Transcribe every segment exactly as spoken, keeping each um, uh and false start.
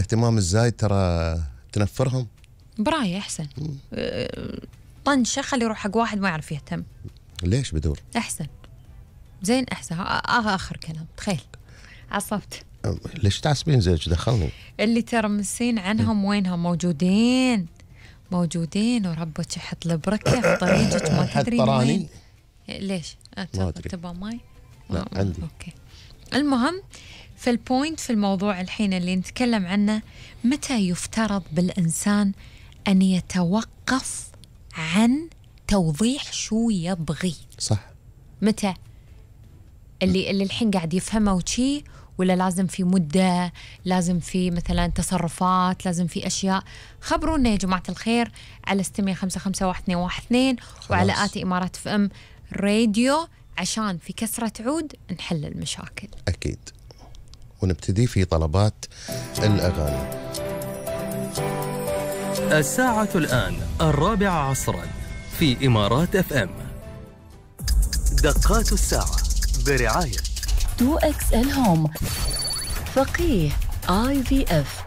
الاهتمام الزايد ترى تنفرهم. براي أحسن طنشة خلي يروح حق واحد ما يعرف يهتم. ليش بدور أحسن زين أحسن. آه آخر كلام. تخيل عصبت. ليش تعصبين زيك دخلني؟ اللي ترمسين عنهم وينهم؟ موجودين موجودين وربك يحط البركة في طريقك ما تدري وين. ليش؟ تبغى ماي؟ لا آه. عندي. أوكي. المهم في البوينت في الموضوع الحين اللي نتكلم عنه، متى يفترض بالإنسان أن يتوقف عن توضيح شو يبغي؟ صح. متى؟ اللي اللي الحين قاعد يفهمه وشي، ولا لازم في مدة، لازم في مثلا تصرفات، لازم في أشياء؟ خبرونا يا جماعة الخير على ستمية خمسة خمسة واحد اثنين واحد اثنين وعلى آتي إمارات اف ام راديو، عشان في كسرة عود نحل المشاكل. أكيد. ونبتدي في طلبات الأغاني. الساعة الآن الرابعة عصرا في إمارات اف ام. دقات الساعة برعاية تو إكس إل هوم، فقيه آي في إف.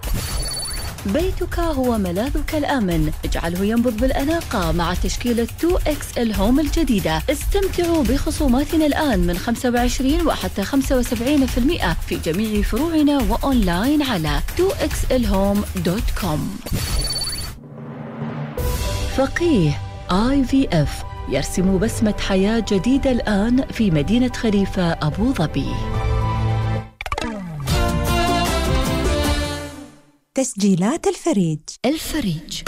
بيتك هو ملاذك الآمن، اجعله ينبض بالأناقة مع تشكيلة تو إكس إل هوم الجديدة. استمتعوا بخصوماتنا الآن من خمسة وعشرين وحتى خمسة وسبعين بالمئة في جميع فروعنا وأونلاين على تو إكس إل هوم دوت كوم. فقيه آي في إف يرسم بسمة حياة جديدة الآن في مدينة خليفة أبو ظبي. تسجيلات الفريج. الفريج